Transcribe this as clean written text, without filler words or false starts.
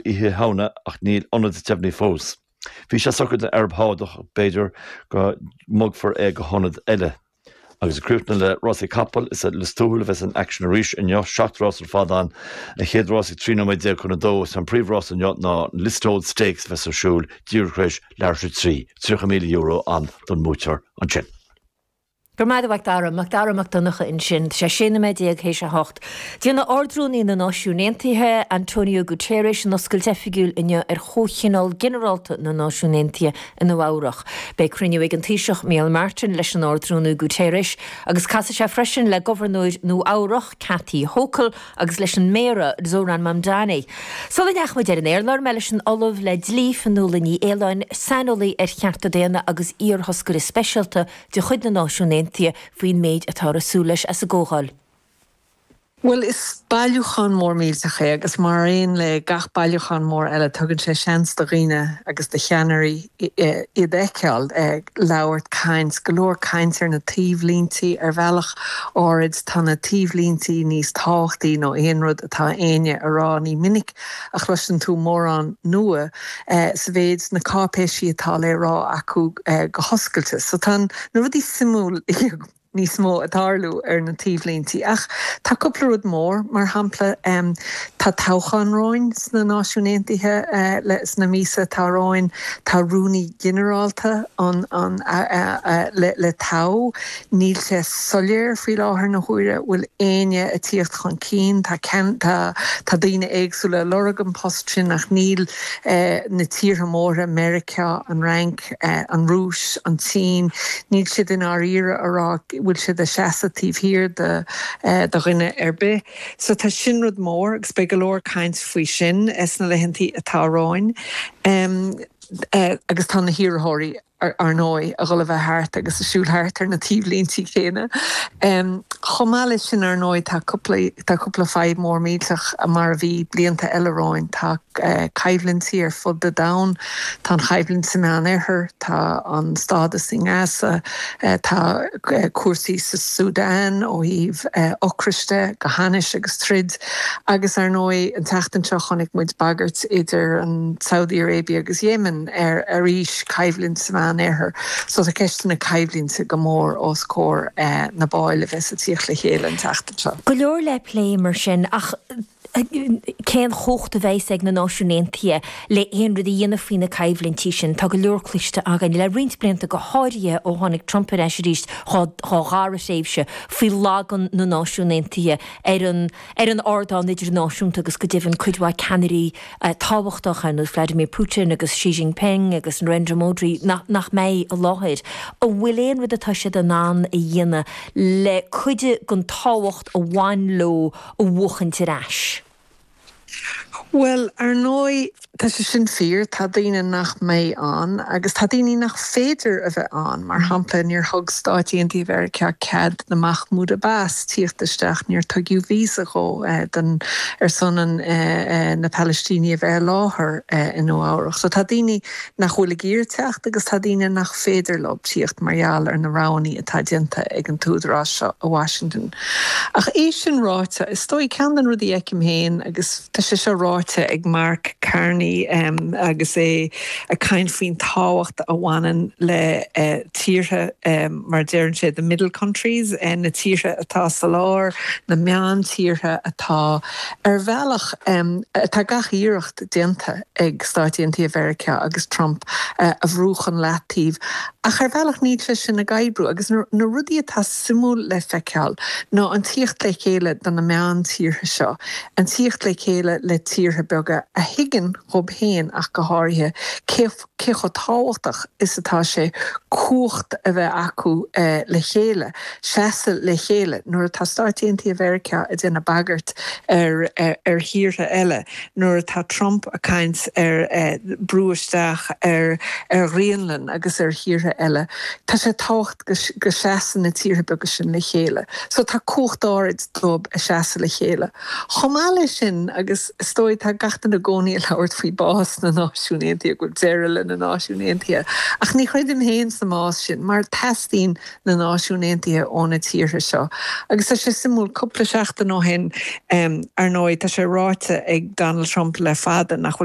Oíche Shamhna ach níl ionad deimhnithe fós. Bhí sé socraithe don Araib Shádach ach b'fhéidir go mbogfar é go hionad eile. Agus ag críochnú le rásaí capall, is i Lios Tuathail a bheas an aicsean arís inniu, 7 rás ar fad ann. An chéad rás ag 13 nóiméad chun a dó. Is an príomhrás inniu ná an Listowel Stakes a bheas ar siúl díreach tar éis leathuair tar éis a 3. €30,000 ann don mbuaiteoir ansin. Go raibh maith agat a Mhac Dara. Mac Dara Mac Donncha ansin. Tá sé 16 nóiméad théis a hocht. Déanfaidh Ard-Rúnaí na Náisiún Aontaithe, Antonio Guterres, an oscailt oifigiúil inniu ar Chomhthionól Ginearálta na Náisiún Aontaithe i Nua Eabhrach. Beidh cruinniú ag an Taoiseach Micheál Martin leis an Ard-Rúnaí Guterres agus casfaidh sé freisin le Gobharnóir Nua Eabhrach, Kathy Hochul, agus leis an Méara, Zohran Mamdani. Sula ndeachaigh muid ar an aer, labhair mé leis an Ollamh le Dlí, Fionnuala Ní Aoláin, saineolaí ar chearta daonna agus iar-thoscaire speisialta de chuid na Náisiún Aontaithe faoin méid atáthar ag súil leis as an gcomhdháil. Bhuel, is bailiúchán mór millteach é agus mar aon le gach bailiúchán mór eile tugann sé seans do dhaoine agus do cheannairí iad a fheiceáil, labhairt, caint, go leor caint ar na taobhlíntí. Ar bhealach áirid tá na taobhlíntí níos tábhachtaí ná aon rud atá éinne a rá. Ní minic a chloiseann tú mórán nua sa mhéid na cáipéisí atá le rá acu go hoscailte. So tá na rudaí suimiúil níos mó ag tarlú ar na taobhlíntí. Ach tá cúpla rud mór, mar shampla tá toghchán romhainn sna Náisiúin Aontaithe sna míosa atá romhainn, tá rúnaí ginearálta an le toghadh. Níl sé soiléir faoi láthair na huaire bhfuil éinne ag tíocht chun cinn. Tá tá tá daoine éagsúla ag lorg an post sin ach níl na tíortha móra, Meiriceá, an Fhrainc, an Rúis, an tSín, níl siad i ndáiríre a rá bhfuil siad ag seasamh taobh thiar de de dhuine ar bith. So tá sin rud mór agus beidh go leor caint faoi sin sna laethantaí atá romhainn. Agus tá na hiarrthóirí. ar ndóigh, a dhul a bheith thart agus a siúl thart ar na taobhlíntí céanna. Chomh maith leis sin, ar ndóigh, tá cúpla, tá cúpla fadhb mór millteach mar a bhí blianta eile romhainn. Tá coimhlintí ar fud an domhain, tá an choimhlint sa Meán-Oirthear, tá an stádas i nGaza, tá cúrsaí sa Súdáin ó thaobh ocrais de, go hainnis agus troid. Agus ar ndóigh, an tseachtain seo chonaic muid bagairt idir an Saudi Arabia agus Yemen ar arís coimhlint sa Mheán-Oirthear. So tá ceisteanna coimhlinte go mór os comhair na baill a bheas ag tíocht le chéile an tseachtain seo. Go leor le plé mar sin, ach cén chumhacht a bheas ag na Náisiúin Aontaithe le aon rud a dhéanamh faoi na coimhlintí sin? Tá go leor cloiste againn le roinnt blianta, go háirithe ó tháinig Trump ar ais arís dá dhara thréimhse, faoi lagan na Náisiún Aontaithe ar an ar an ardán idirnáisiúnta agus go deimhin cuid mhaith ceannairí tábhachtacha ar nós Vladimir Putin agus Xi Jinping agus Narendra Modi nach nach mbeidh i láthair. An bhfuil aon rud atá siad in ann a dhéanamh le cuid den tábhacht a bhain leo a bhuachaint ar ais? Bhuel, ar ndóigh, tá sé sin fíor, tá daoine nach mbeidh ann agus tá daoine nach féidir a bheith ann. Mar shampla, níor thug Stáit Aontaithe Mheiriceá cead do Mahmoud Abbas tíocht isteach, níor tuigeadh víosa dhó don, ar son an, na Palaistínigh a bheith i láthair i Nua Eabhrach. So tá daoine nach bhfuil ag iarraidh teacht agus tá daoine nach féidir leo tíocht mar gheall ar na roghanna atá déanta ag an t-údarás seo i Washington. Ach é sin ráite, is dóigh, ceann de na rudaí a fheicim féin, agus tá sé seo ráite ag Mark Carney agus é ag caint faoin tábhacht a bhaineann le tíortha, mar a deireann sé, the middle countries, na tíortha atá sa lár, na meántíortha atá, ar bhealach, tá gach iarracht déanta ag Stáit Aontaithe Mheiriceá agus Trump a bhrú chun leataoibh. Ach ar bhealach níl sé sin ag oibriú agus na rudaí atá suimiúil le feiceáil ná an tíocht le chéile do na meántíortha seo, an tíocht le chéile le tíortha beaga a thuigeann dhób féin ach go háirithe cé cé chomh tábhachtach is atá sé cumhacht a bheith acu le chéile, seasamh le chéile nuair atá Stáit Aontaithe Mheiriceá ag déanamh bagairt ar ar thíortha eile. nuair atá Trump ag caint ar brú isteach ar Ghraonlainn agus ar thíortha eile, tá sé tábhachtach go seasann na tíortha beaga sin le chéile. So tá cumhacht áirid dóibh a seasamh le chéile. Chomh maith leis sin, agus is dóigh tá gach duine i gcónaí ag labhairt faoi bás na Náisiún Aontaithe, go bhfuil deireadh le na Náisiúin Aontaithe, ach ní chreidim féin sa mbás sin mar teastaíonn na Náisiún Aontaithe ó na tíortha seo. Agus tá sé suimiúil, cúpla seachtain ó shin, ar ndóigh, tá sé ráite ag Donald Trump le fada nach bhfuil.